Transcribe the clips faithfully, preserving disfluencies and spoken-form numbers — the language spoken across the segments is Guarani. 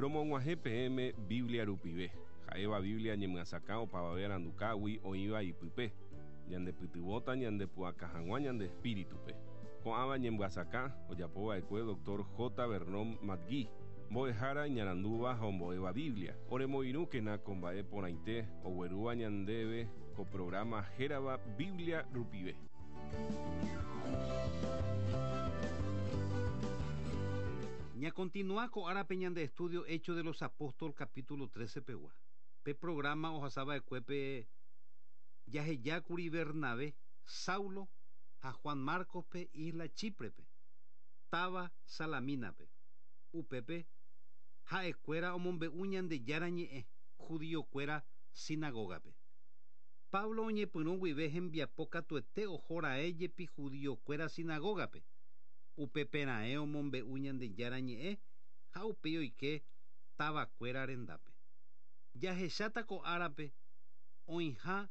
Romog̃uahẽ peẽme Biblia rupive. Ha'éva Biblia ñemyasakã opavave arandukágui oĩva ipype. Ñandepytyvõta ñandepu'aka hag̃ua ñande espíritupe. Ko'ãva ñemyasakã ojapova'ekue doctor J. Vernon McGee. Mbo'ehára iñarandúva ha ombo'éva Biblia. Oremoirũkena ko mba'e porãite oguerúva ñandéve ko programa hérava Biblia rupive. Ña continúa ko árape ñande estudio Hechos de los Apóstoles capítulo trece pegua. Pe programa ohasava'ekuépe jahejákuri Bernabé, Saulo ha Juan Marcos pe isla Chíprepe, táva Salamínape. Upépe ha'ekuéra omombe'u Ñandejára ñe'ẽ judiokuéra sinagógape. Pablo oñepyrũ guive hembiapo katuete ohora'e jepi judiokuéra sinagógape. Upepera'e omombe'u Ñandejára ñe'ẽ ha upéi oike tavakuéra rendápe. Jahecháta ko árape oĩha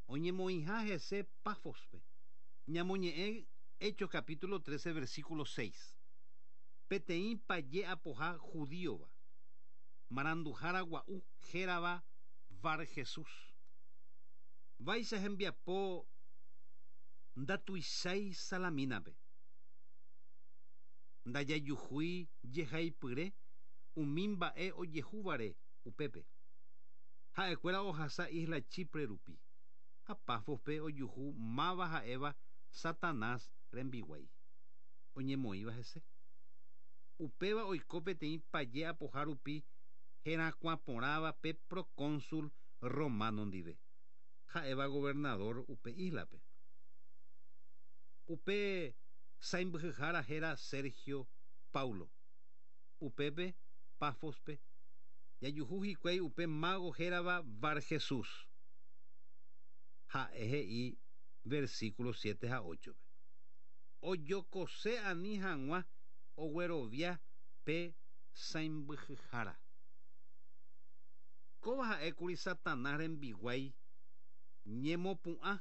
oñemoĩha hese Pafospe. Ñamoñe'ẽ Hechos capítulo trece versículo seis. Peteĩ paje apoha judíova. Maranduhára gua'u hérava Bar Jesús. Vaicha hembiapo ndatuichái Salamínape. Ndajajuhúi jehaipyre umi mba'e ojehúvare upépe. Ha'ekuéra ohasa isla Chipre rupi. Ha Pafospe ojuhu máva ha'éva Satanás rembiguái. Oñemoĩva hese. Upéva oiko peteĩ paje apoha rupi herakuãporãva pe procónsul romano ndive. Ha'éva gobernador upe islape. Upe sãimbyhyhára héra Sergio Paulo. Upépe Pafospe jajuhu hikuái upe mago hérava Bar Jesús. Ha'e he'i versículo siete ha ocho. Ojokose ani hag̃ua oguerovia pe sãimbyhyhára. Kóva ha'ékuri Satanás rembiguái ñemopu'ã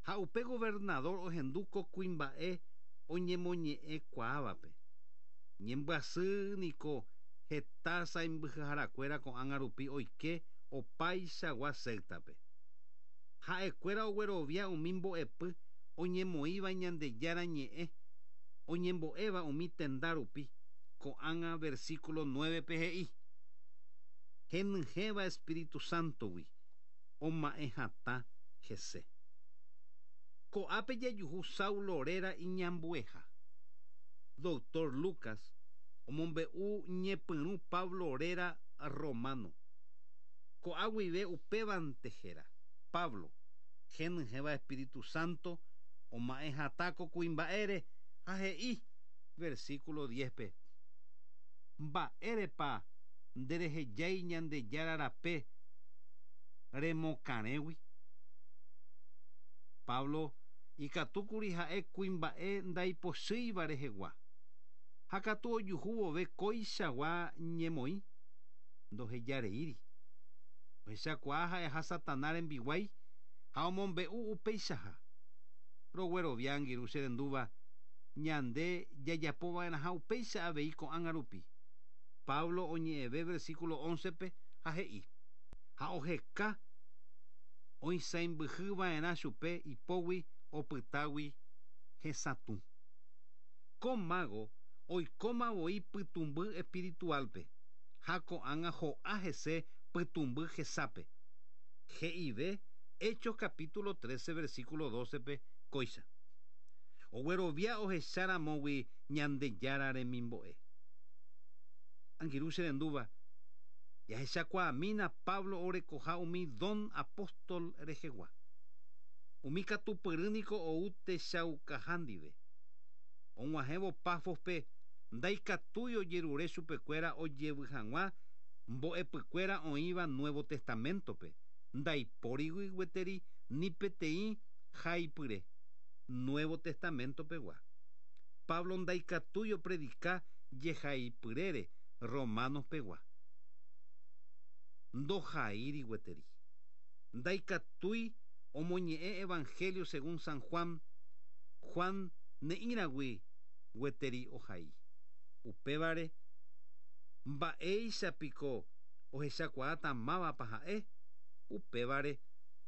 ha upe gobernador ohendu ko kuimba'e oñemoñe'ẽkuaávape. Ñembyasy niko heta sãimbyhyharakuéra ko'ág̃a rupi oike opaichagua sectape. Ha'ekuéra oguerovia umi mbo'epy oñemoĩva Ñandejára ñe'ẽ oñembo'éva umi tenda rupi ko'ág̃a versículo nueve pe he'i. Henyhẽva Espíritu Santogui oma'ẽ hatã hese. Ko'ápe jajuhu Saulo réra iñambueha. Doctor Lucas omombe'u ñepyrũ Pablo réra romano. Ko'águive upévante héra Pablo henyhẽva Espíritu Santo oma'ẽ hatã ko kuimba'ére ha he'i versículo diez pe. Mba'érepa nderehejái Ñandejára rape remokarẽgui. Pablo ikatúkuri ha'e kuimba'e ndaipochýiva rehegua. Ha katu ojuhu vove koichagua ñemoĩ ndohejareíri. Ohechakuaa ha'eha Satanás rembiguái ha omombe'u upeichaha. Roguerovia angirũ che rendúva ñande jajapova'erãha upéicha avei ko'ág̃a rupi. Pablo oñe'ẽve versículo once pe ha he'i. Ha oheka oisãimbyhyva'erã chupe ipógui opytágui hesatũ. Ko mago oikóma voi pytũmby espiritualpe ha ko'ág̃a ho'a hese pytũmby hesápe. He'ive Hechos capítulo trece versículo doce pe kóicha. Oguerovia ohecháramogui Ñandejára remimbo'e. Angirũ che rendúva jahechakuaamína Pablo orekoha umi don apóstol rehegua. Umi katupyrýniko ou techaukaha ndive. Og̃uahẽvo Pafospe ndaikatúi ojerure chupekuéra ojevy hag̃ua mbo'epykuéra oĩva Nuevo Testamentope. Ndaipórigui gueteri ni peteĩ haipyre Nuevo Testamento pegua. Pablo ndaikatúi opredika jehaipyrére Romanos pegua. Ndohaíri gueteri. Ndaikatúi omoñe'ẽ Evangelio según San Juan. Juan ne'írãgui gueteri ohai. Upévare Mba'éichapiko ohechakuaáta mávapa ha'e upévare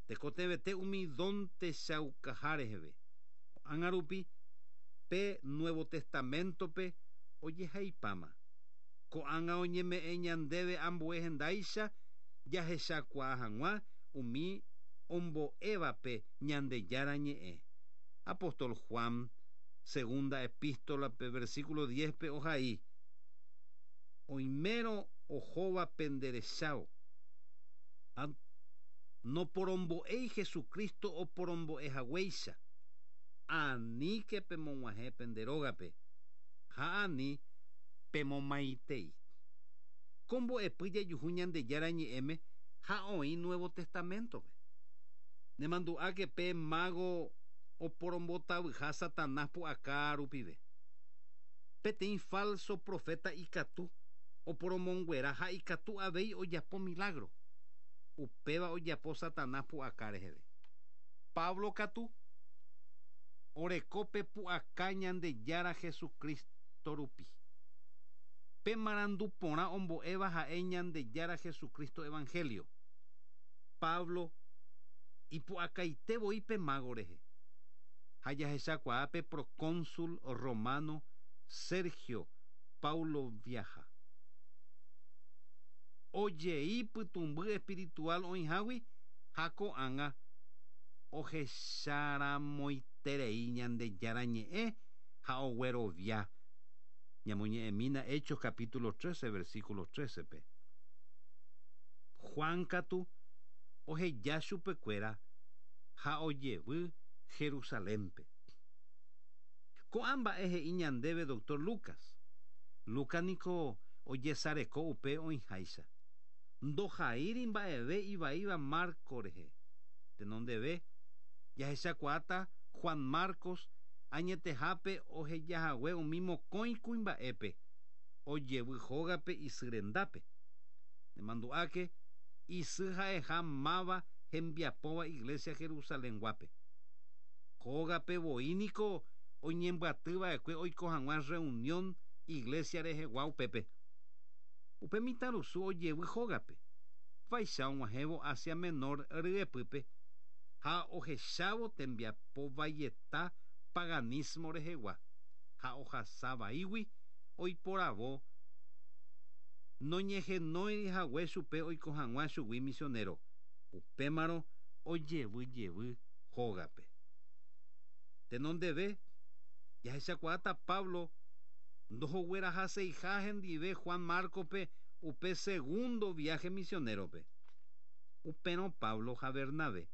tekotevẽte umi don techaukaha reheve. Ko'ág̃a rupi pe Nuevo Testamentope ojehaipáma. Ko'ág̃a oñeme'ẽ ñandéve ambue hendáicha jahechakuaa hag̃ua umi ombo'évape Ñandejára ñe'ẽ. Apóstol Juan, segunda epístola pe versículo diez pe ohai. Oimérõ ohóva penderechávo. Noporombo'éi Jesucristo oporombo'ehaguéicha. Aníke pemog̃uahẽ pende rógape ha ani pemomaitei. Ko mbo'epy jajuhu Ñandejára ñe'ẽme ha oĩ Nuevo Testamentope. Nemandu'áke pe mago oporombotavyha Satanás pu'aka rupive. Peteĩ falso profeta ikatu oporomonguera ha ikatu avei ojapo milagro. Upéva ojapo Satanás pu'aka reheve. Pablo katu orekópe pu'aka Ñandejára Jesucristo rupi. Pe marandu porã ombo'éva ha'e Ñandejára Jesucristo Evangelio. Pablo ipu'akaite voi pe mago rehe. Ha jahechakuaa pe procónsul romano Sergio Paulo viaja. Ojei pytũmby espiritual oĩhágui ha ko'ág̃a ohecharamoiterei Ñandejára ñe'ẽ ha oguerovia. Ñamoñe'ẽmína Hechos capítulo trece versículo trece pe. Juan katu oheja chupekuéra ha ojevy Jerusalénpe. Ko'ã mba'e he'i ñandéve doctor Lucas. Lucas niko ojesareko upe oĩháicha. Ndohaíri mba'eve ivaíva Marco rehe. Tenondeve jahechakuaáta Juan Marcos añetehápe ohejahague umi mokõi kuimba'épe ojevy hógape isy rendápe. Nemandu'áke isy ha'eha máva hembiapóva iglesia Jerusalenguápe. Hógape voi niko oñembyatyva'ekue oiko hag̃ua reunión iglesia rehegua upépe. Upe mitãrusu ojevy hógape. Vaicha og̃uahẽvo Asia Menor ryepýpe ha ohechávo tembiapo vaieta paganismo rehegua ha ohasa vaígui oiporavo noñehenóiri hague chupe oiko hag̃ua chugui misionero. Upémarõ ojevy jevy hógape. Tenondeve jahechakuaáta Pablo ndohoguerahaseiha hendive Juan Marcospe upe segundo viaje misionerope. Upérõ Pablo ha Bernabé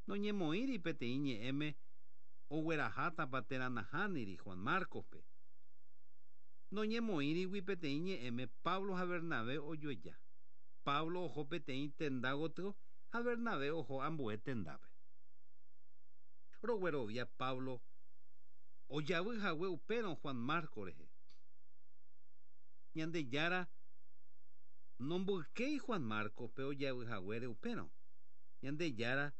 noñemoĩri peteĩ ñe'ẽme oguerahátapa térã nahániri Juan Marcospe. Noñemoĩrigui peteĩ ñe'ẽme Pablo ha Bernabé ojoeja. Pablo oho peteĩ tenda gotyo ha Bernabé oho ambue tendápe. Roguerovia Pablo ojavy hague upérõ Juan Marcos rehe. Ñandejára nomboykéi Juan Marcospe ojavy haguére upérõ. Ñandejára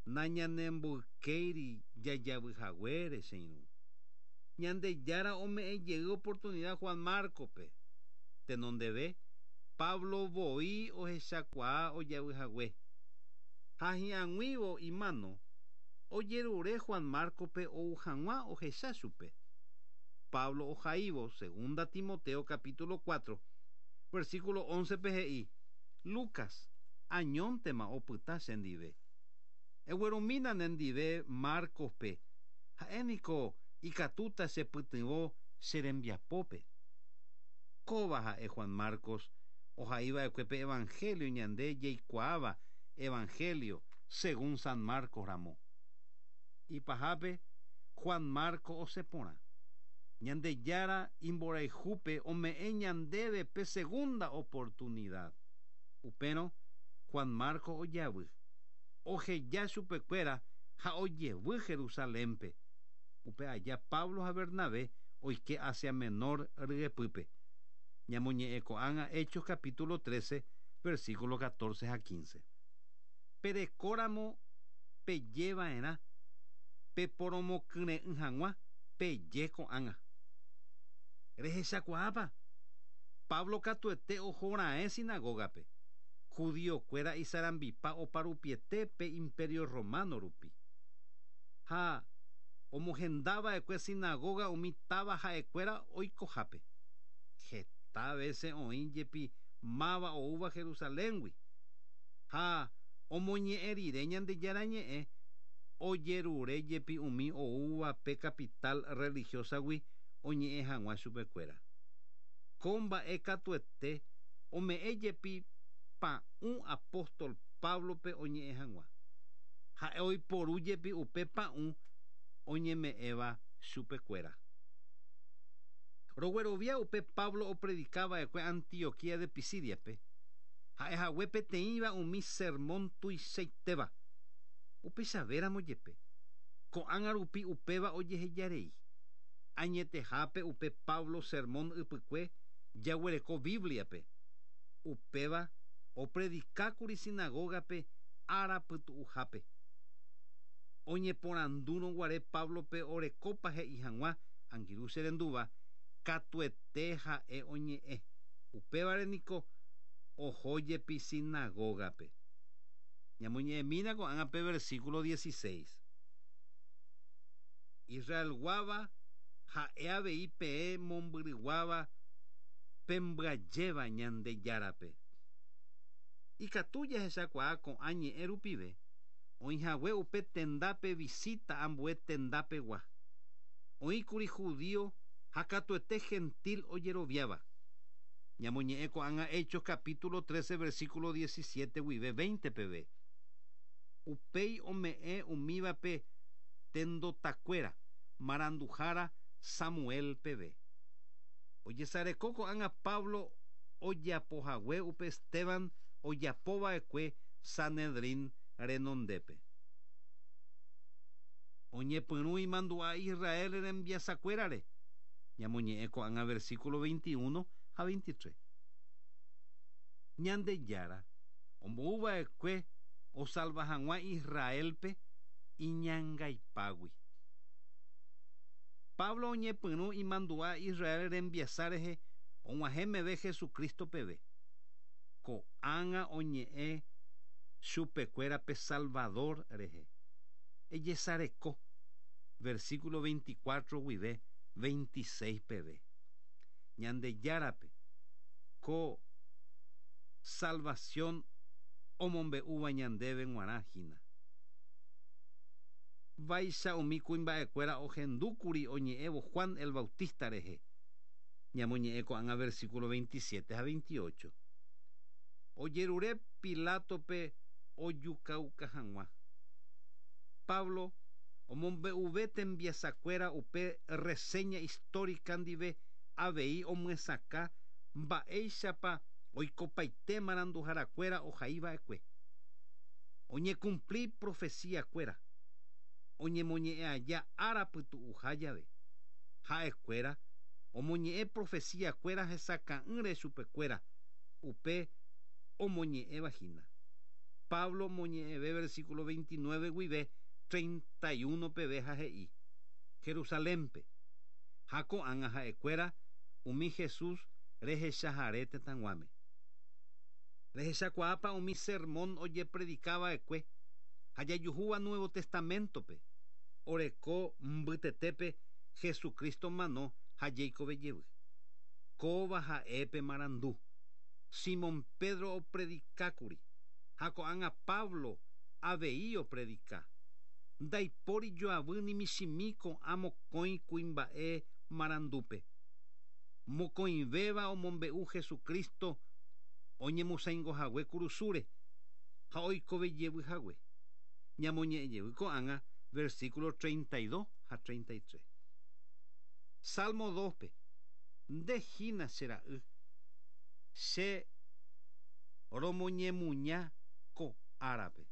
nañanemboykéiri jajavy haguére che irũ. Ñandejára ome'ẽ jey oportunidad Juan Marcospe. Tenondeve Pablo voi ohechakuaa ojavy hague. Ha hi'ag̃uívo imano ojerure Juan Marcospe ou hag̃ua ohecha chupe. Pablo ohaívo segunda Timoteo capítulo cuatro versículo once pe he'i Lucas añóntema opyta chendive. Eguerumína nendive Marcospe ha'éniko ikatúta chepytyvõ che rembiapópe. Kóva ha'e Juan Marcos ohaiva'ekue pe Evangelio ñande jaikuaáva Evangelio según San Marcos ramo. Ipahápe Juan Marcos osẽporã. Ñandejára imborayhúpe ome'ẽ ñandéve pe segunda oportunidad. Upérõ Juan Marcos ojavy. Oheja chupekuéra ha ojevy Jerusalénpe. Upe aja Pablo ha Bernabé oike Asia Menor ryepýpe. Ñamoñe'ẽ ko'ág̃a Hechos capítulo trece versículo catorce ha quince. Perekóramo pejeva'erã peporomokyre'ỹ hag̃ua peje ko'ág̃a. Rehechakuaápa Pablo katuete ohoraẽ sinagogape. Judíokuéra isarambipa oparupiete pe imperio romano rupi. Ha omohendava'ekue sinagoga umi táva ha'ekuéra oikohápe. Heta vece oĩ jepi máva oúva Jerusaléngui. Ha omoñe'ẽ rire Ñandejára ñe'ẽ ojerure jepi umi oúva pe capital religiosagui oñe'ẽ hag̃ua chupekuéra. Ko mba'e katuete ome'ẽ jepi pa'ũ apóstol Pablope oñe'ẽ hag̃ua. Ha'e oiporu jepi upe pa'ũ oñeme'ẽva chupekuéra. Roguerovia upe Pablo opredicava'ekue Antioquía de Pisidiape. Ha'ehague peteĩva umi sermón tuichaitéva. Upechavéramo jepe. Ko'ág̃a rupi upéva ojehejarei. Añetehápe upe Pablo sermón ypykue jaguereko Bibliape. Upéva opredicákuri sinagogape ára pytu'uhápe. Oñeporandúrõ guare Pablope orekópa he'i hag̃ua angirũ che rendúva katuete ha'e oñe'ẽ. Upévare niko oho jepi sinagogape. Ñamoñe'ẽmína ko'ág̃a pe versículo dieciséis. Israelguáva ha'e avei peẽ mombyryguáva pembyajéva Ñandejárape. Ikatu jahechakuaa ko'ã ñe'ẽ rupive oĩhague upe tendápe visita ambue tendapegua. Oĩkuri judío ha katuete gentil ojeroviáva. Ñamoñe'ẽ ko'ág̃a Hechos capítulo trece versículo diecisiete guive veinte peve. Upéi ome'ẽ umívape tendotakuéra maranduhára Samuel peve. Ojesareko ko'ág̃a Pablo ojapohague upe Esteban ojapova'ekue Sanedrín renondépe. Oñepyrũ imandu'a Israel rembiasakuérare. Ñamoñe'ẽ ko'ág̃a versículo veintiuno ha veintitrés. Ñandejára ombouva'ekue osalva hag̃ua Israelpe iñangaipágui. Pablo oñepyrũ imandu'a Israel rembiasa rehe og̃uahẽ meve Jesucristo peve. Ko'ág̃a oñe'ẽ chupekuéra pe Salvador rehe. Ejesareko versículo veinticuatro guive veintiséis peve. Ñandejárape ko salvación omombe'úva ñandéve g̃uarã hína. Vaicha umi kuimba'ekuéra ohendúkuri oñe'ẽvo Juan el Bautista rehe. Ñamoñe'ẽ ko'ág̃a versículo veintisiete ha veintiocho. Ojerure Pilatope ojukauka hag̃ua. Pablo omombe'uve tembiasakuéra upe reseña histórica ndive avei omyesakã mba'éichapa oikopaite maranduharakuéra ohaiva'ekue. Oñecumpli profecíakuéra. Oñemoñe'ẽ aja ára pytu'uha jave. Ha'ekuéra omoñe'ẽ profecíakuéra hesakã'ỹre chupekuéra upe omoñe'ẽva hína. Pablo omoñe'ẽve versículo veintinueve guive treinta y uno peve ha he'i Jerusalénpe. Ha ko'ág̃a ha'ekuéra umi Jesús rehechahare tetãguáme. Rehechakuaápa umi sermón ojepredicava'ekue ha jajuhúva Nuevo Testamentope. Oreko mbytetépe Jesucristo mano ha jeikove jevy. Kóva ha'e marandu. Simón Pedro opredicákuri. Ha ko'ág̃a Pablo avei opredica. Ndaipóri joavy ni michĩmi ko'ã mokõi kuimba'e marandúpe. Mokõivéva omombe'u Jesucristo oñemosaingohague kurusúre ha oikove jevy hague. Ñamoñe'ẽ jevy ko'ág̃a versículo treinta y dos ha treinta y tres. Salmo dospe. Nde hína che ra'y. Che romoñemuña ko árape.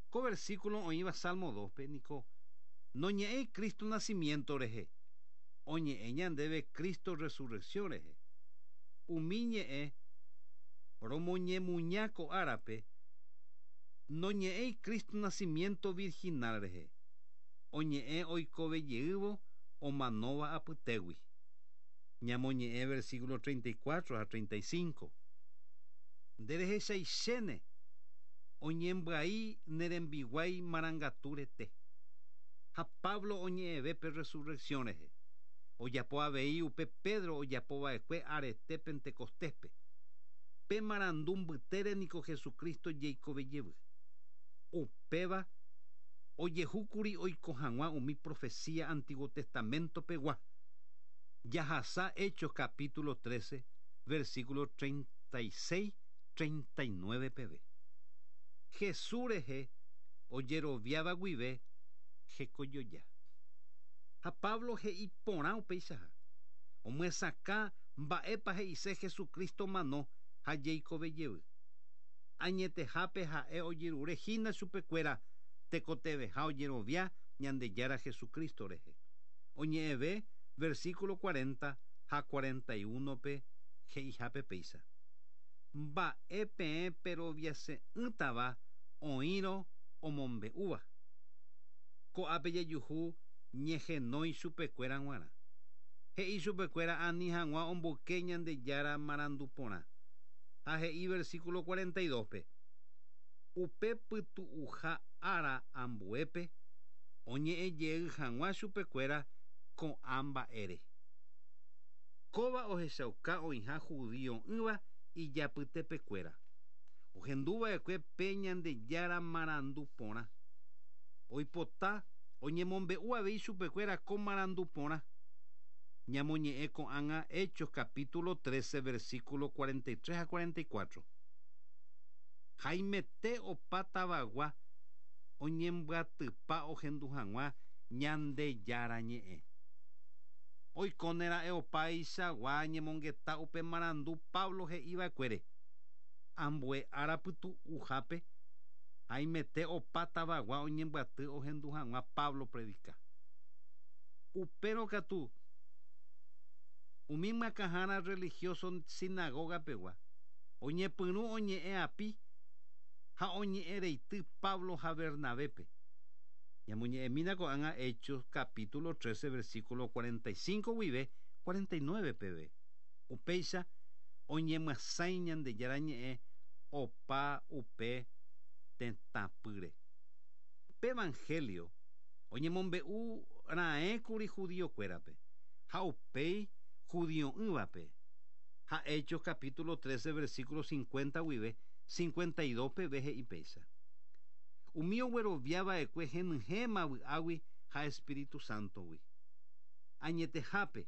Ko versículo oĩva Salmo dospe niko noñe'ẽi Cristo nacimiento rehe. Oñe'ẽ ñandéve Cristo resurrección rehe. Umi ñe'ẽ romoñemuña ko árape noñe'ẽi Cristo nacimiento virginal rehe. Oñe'ẽ oikove jeývo omanóva apytégui. Ñamoñe'ẽ versículo treinta y cuatro a treinta y cinco. Nderehechaichéne oñembyai nerembiguái marangaturete. Ha Pablo oñe'ẽve pe resurrección rehe. Ojapo avei upe Pedro ojapova'ekue arete Pentecostéspe. Pe marandu mbytére niko Jesucristo jeikove jevy. Upéva ojehúkuri oiko hag̃ua umi profecía Antiguo Testamento pegua. Jahasa Hechos capítulo trece, versículo treinta y seis, treinta y nueve peve. Jesús rehe ojeroviáva guive hekojoja. Ha Pablo he'i porã upeichaha. Omyesakã mba'épa he'ise Jesucristo mano ha jeikove jevy. Añetehápe ha'e ojerure hína chupekuéra tekoteveha ojerovia Ñandejára Jesucristo rehe. Oñe'ẽve versículo cuarenta ha cuarenta y uno pe he'ihápe péicha. Mba'e peẽ peroviase'ỹtava oĩrõ omombe'úva. Ko'ápe jejuhu ñehenói chupekuéra g̃uarã. He'i chupekuéra ani hag̃ua omboyke Ñandejára marandu porã. Ha he'i versículo cuarenta y dos pe. Upe pytu'uha ára ambuépe oñe'ẽ jey hag̃ua chupekuéra ko'ã mba'ére. Kóva ohechauka oĩha judío'ỹva ijapytepekuéra. Ohenduva'ekue pe Ñandejára marandu porã. Oipota oñemombe'u avei chupekuéra ko marandu porã. Ñamoñe'ẽ ko'ág̃a Hechos capítulo trece versículo cuarenta y tres a cuarenta y cuatro. Haimete opa tavagua oñembyatypa ohendu hag̃ua Ñandejára ñe'ẽ. Oikónera'e opaichagua ñemongeta upe marandu Pablo he'iva'ekuére. Ambue ára pytu'uhápe haimete opa tavagua oñembyaty ohendu hag̃ua Pablo predica. Upérõ katu umi myakãhára religioso sinagoga pegua oñepyrũ oñe'ẽ api ha oñe'ẽreity Pablo ha Bernabépe. Ñamoñe'ẽmína ko'ág̃a Hechos capítulo trece versículo cuarenta y cinco guive cuarenta y nueve peve. Upéicha oñemyasãi Ñandejára ñe'ẽ opa upe tetãpýre. Pe evangelio oñemombe'u raẽkuri judíokuérape ha upéi judío'ỹvape. Ha Hechos capítulo trece versículo cincuenta guive cincuenta y dos peve he'i péicha. Umi ogueroviava'ekue henyhẽma vy'águi ha Espíritu Santogui. Añetehápe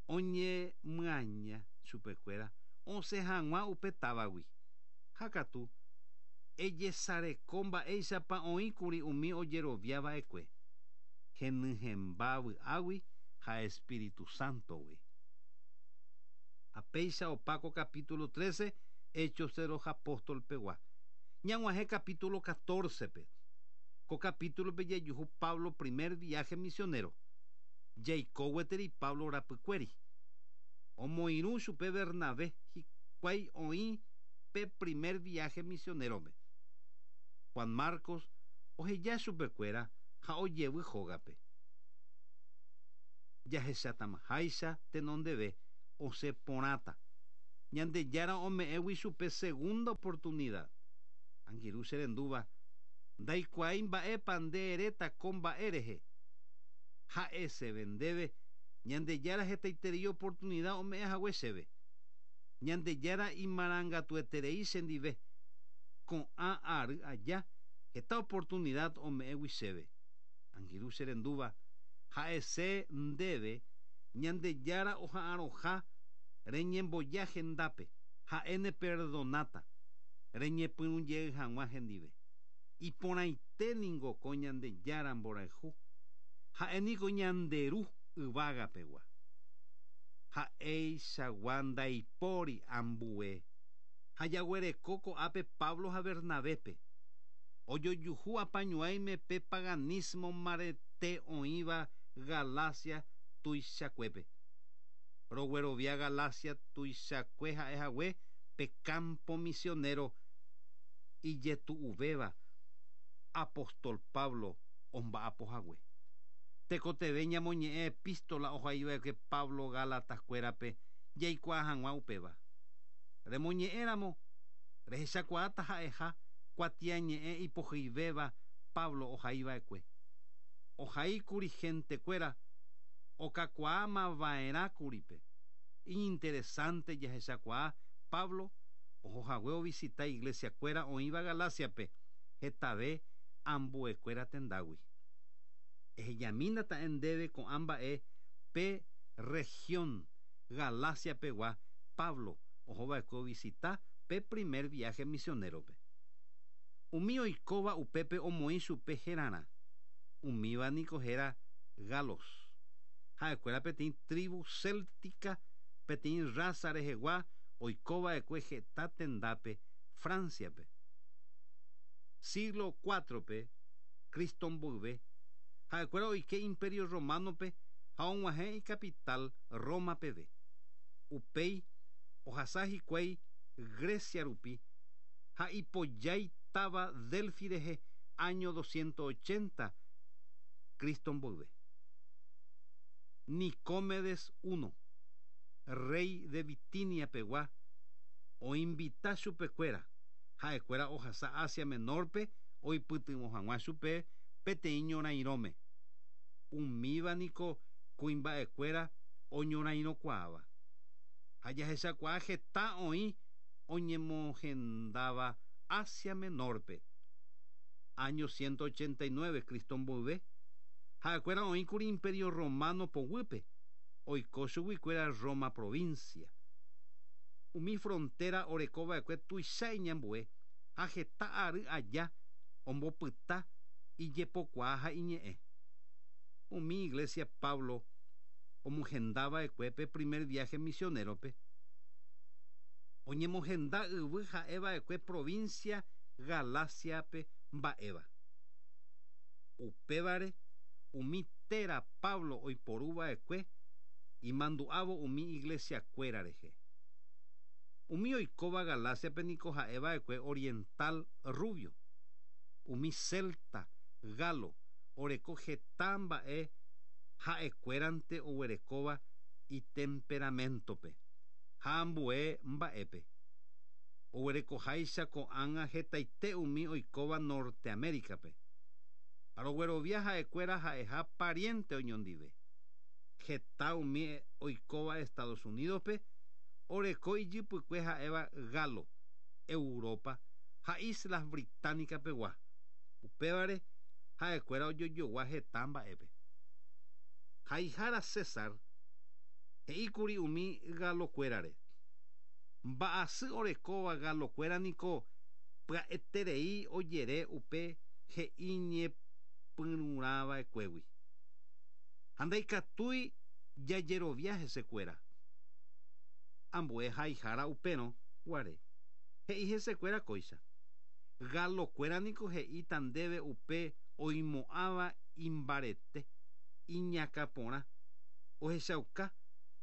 oñemyaña chupekuéra osẽ hag̃ua upe távagui. Ha katu ejesareko mba'éichapa oĩkuri umi ojeroviava'ekue henyhẽmba vy'águi ha Espíritu Santogui. Ha péicha opáko capítulo trece Hechos de los Apóstoles pegua. Ñag̃uahẽ capítulo catorce pe. Ko capítulo pe jejuhu Pablo primer viaje misionero. Jaiko gueteri Pablo rapykuéri. Omoirũ chupe Bernabé hikuái oĩ pe primer viaje misionero-pe. Juan Marcos oheja chupekuéra ha ojevy hógape. Jahechatamaháicha tenondeve osẽ porãta. Ñandejára ome'ẽgui chupe segunda oportunidad. Angirũ che rendúva ndaikuaái mba'épa nde eréta ko mba'e rehe. Ha'eseve ndéve Ñandejára hetaiterei oportunidad ome'ẽ hague chéve. Ñandejára imarangatueterei chendive. Ko'ã ary aja heta oportunidad ome'ẽgui chéve. Angirũ che rendúva ha'ese ndéve Ñandejára oha'arõha reñemboja hendápe ha'e neperdonáta reñepyrũ jey hag̃ua hendive. Iporãite ningo ko Ñandejára mborayhu ha'e niko ñanderu yvágapegua. Ha'eichagua ndaipóri ambue. Ha jaguereko ko'ápe Pablo ha Bernabépe. Ojojuhu apañuãime pe paganismo mbarete oĩva Galacia tuichakuépe. Roguerovia Galacia tuichakue ha'ehague pe campo misionero ijetu'uvéva apóstol Pablo omba'apohague. Tekotevẽ ñamoñe'ẽ epístola ohaiva'ekue Pablo Gálatas-kuérape jaikuaa hag̃ua upéva. Remoñe'ẽramo rehechakuaáta ha'eha kuatiañe'ẽ ipohyivéva Pablo ohaiva'ekue. Ohaíkuri gentekuéra okakuaamava'erãkuripe. Iñinteresante jahechakuaa Pablo ohohague ovisita iglesiakuéra oĩva Galaciape hetave ambuekuéra tendágui. Ehejamína ndéve ko'ã mba'e pe región Galaciapegua Pablo ohova'ekue ovisita pe primer viaje misionerope. Umi oikóva upépe omoĩ chupe herarã. Umíva niko héra galos. Ha'ekuéra peteĩ tribu céltica peteĩ raza rehegua oikova'ekue heta tendápe Franciape. Siglo cuatro-pe Cristo mboyve ha'ekuéra oike Imperio Romanope ha og̃uahẽ icapital Roma peve. Upéi ohasa hikuái Grecia rupi ha ipojái táva Delfi rehe año doscientos ochenta Cristo mboyve. Nicomedes primero, rey de Bitinia pegua, oinvita chupekuéra ha'ekuéra ohasa Asia Menorpe oipytyvõ hag̃ua chupe peteĩ ñorairõme. Umíva niko kuimba'ekuéra oñorairõkuaáva. Ha jahechakuaa heta oĩ oñemohendáva Asia Menorpe. Año ciento ochenta y nueve Cristo mboyve ha'ekuéra oĩkuri Imperio Romano poguýpe oiko chuguikuéra Roma provincia. Umi frontera orekova'ekue tuicha iñambue ha heta ary aja ombopyta ijepokuaa ha iñe'ẽ. Umi iglesia Pablo omohendava'ekue pe primer viaje misionerope. Oñemohenda yvy ha'eva'ekue provincia Galaciape mba'éva. Upévare umi téra Pablo oiporuva'ekue imandu'ávo umi iglesiakuéra rehe. Umi oikóva Galaciape niko ha'eva'ekue oriental rubio. Umi celta, galo, oreko heta mba'e ha'ekuérante oguerekóva itemperamentope ha ambue mba'épe. Oguerekoháicha ko'ág̃a hetaite umi oikóva Norteaméricape. Aroguerovia ha'ekuéra ha'eha pariente oñondive. Heta umi oikóva Estados Unidospe oreko ijypykue ha'éva galo, Europa ha Islas Británicapegua. Upévare ha'ekuéra ojojogua heta mba'épe. Haihára César he'íkuri umi galokuérare. Mba'asy orekóva galokuéra niko pya'eterei ojere upe he'iñepyrũrãva'ekuégui. Ha ndaikatúi jajerovia hesekuéra. Ambue haihára upérõ guare. He'i hesekuéra kóicha. Galokuéra niko he'íta ndéve upe oimo'ãva imbarete, iñakãporã, ohechauka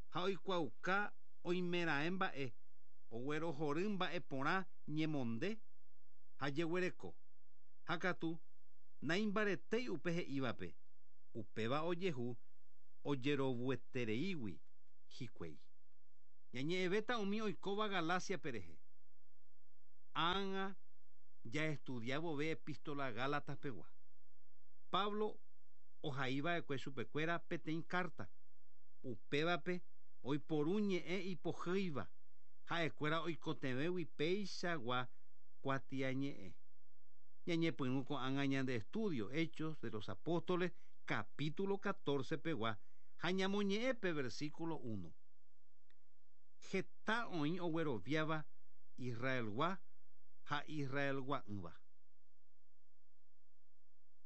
ha oikuaauka oimeraẽ mba'e, oguerohory mba'eporã ñemonde ha jeguereko. Ha katu naimbaretéi upe he'ívape. Upéva ojehu ojerovuetereígui hikuái. Ñañe'ẽvéta umi oikóva Galaciape rehe. Ág̃a jaestudiavove epístola Gálatas-pegua. Pablo ohaiva'ekue chupekuéra peteĩ carta. Upévape oiporu ñe'ẽ ipohýiva ha'ekuéra oikotevẽgui péichagua kuatiañe'ẽ. Ñañepyrũ ko'ág̃a ñande estudio Hechos de los Apóstoles capítulo catorce pegua ha ñamoñe'ẽ pe versículo uno. Heta oĩ ogueroviáva Israelgua ha Israelgua'ỹva.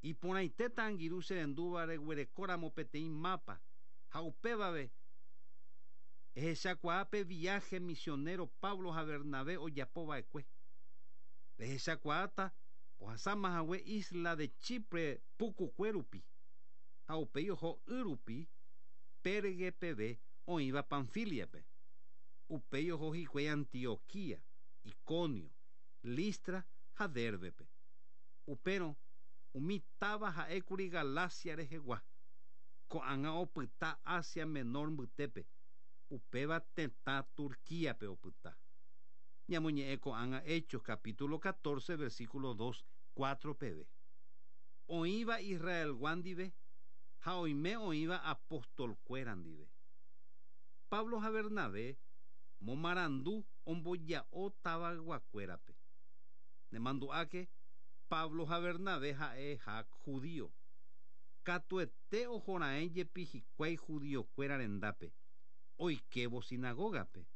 Iporãitéta angirũ cherendúva reguerekóramo peteĩ mapa ha upévave ehechakuaa pe viaje misionero Pablo ha Bernabé ojapova'ekue. Rehechakuaáta ohasamahague isla de Chipre pukukue rupi ha upéi oho y rupi Perge peve oĩva Panfiliape. Upéi oho hikuái Antioquia, Iconio, Listra ha Derbepe. Upérõ umi táva ha'ékuri Galacia rehegua. Ko'ág̃a opyta Asia Menor mbytépe, upéva tetã Turquíape opyta. Ñamoñe'ẽ ko'ág̃a Hechos capítulo catorce versículo dos, cuatro peve. Oĩva Israelgua ndive ha oime oĩva apostolkuéra ndive. Pablo ha Bernabé momarandu omboja'o tavayguakuérape. Nemandu'áke Pablo ha Bernabé ha'eha judío. Katuete ohora'ẽ jepi hikuái judiokuéra rendápe, oikévo sinagógape.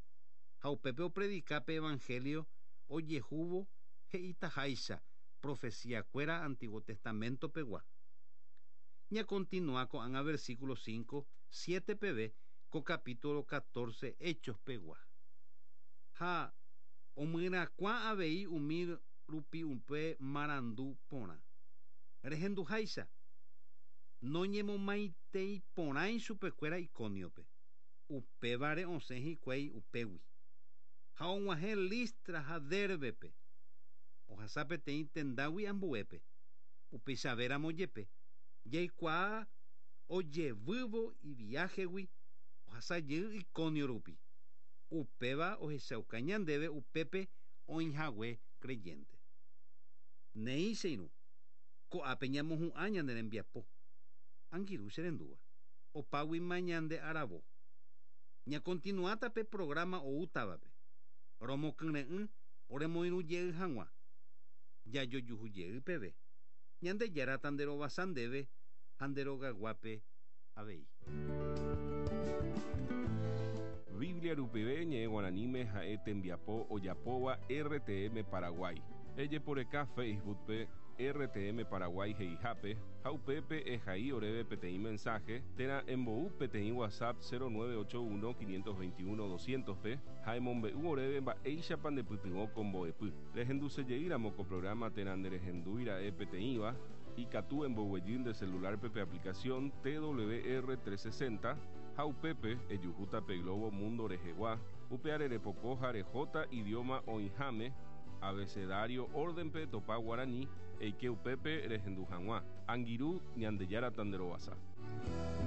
Ha upépe opredikápe evangelio ojehúvo he'itaháicha profecíakuéra Antiguo Testamento pegua. Ñakontinua ko'ág̃a versículo cinco, siete peve ko capítulo catorce Hechos pegua. Ha omyrakuã avei umi rupi upe marandu porã. Rehenduháicha noñemomaitei porãi chupekuéra Iconiope. Upévare osẽ hikuái upégui. Ha og̃uahẽ Listra ha Derbepe. Ohasa peteĩ tendágui ambuépe. Upeichavéramo jepe jaikuaa ojevývo iviáhegui ohasa jey Iconio rupi. Upéva ohechauka ñandéve upépe oĩhague creyente. Néi che irũ, ko'ápe ñamohu'ã ñane rembiapo. Angirũ che rendúva. Opáguima ñande aravo. Ñakontinuáta pe programa oútavape. Romokyre'ỹ oremoirũ jey hag̃ua. Jajojuhu jey peve. Ñandejára nderovasa ndéve ha nderogaguápe avei. Biblia rupive ñe'ẽ guaraníme ha'e tembiapo ojapóva R T M Paraguay. Ejeporeka Facebookpe R T M Paraguay he'ihápe ha upépe ehai oréve peteĩ mensaje térã embou peteĩ WhatsApp cero nueve ocho uno quinientos veintiuno doscientos pe ha emombe'u oréve mba'éichapa ndepytyvõ ko mbo'epy. Rehendusejeýramo ko programa térã nderehendúira'e peteĩva ikatu emboguejy nde celularpe pe aplicación T W R trescientos sesenta ha upépe ejuhúta pe Globo Mundo rehegua upe arerepoko ha rehóta idioma oĩháme abecedario órdenpe topa guarani eike upépe rehendu hag̃ua. Angirũ Ñandejára tanderovasa.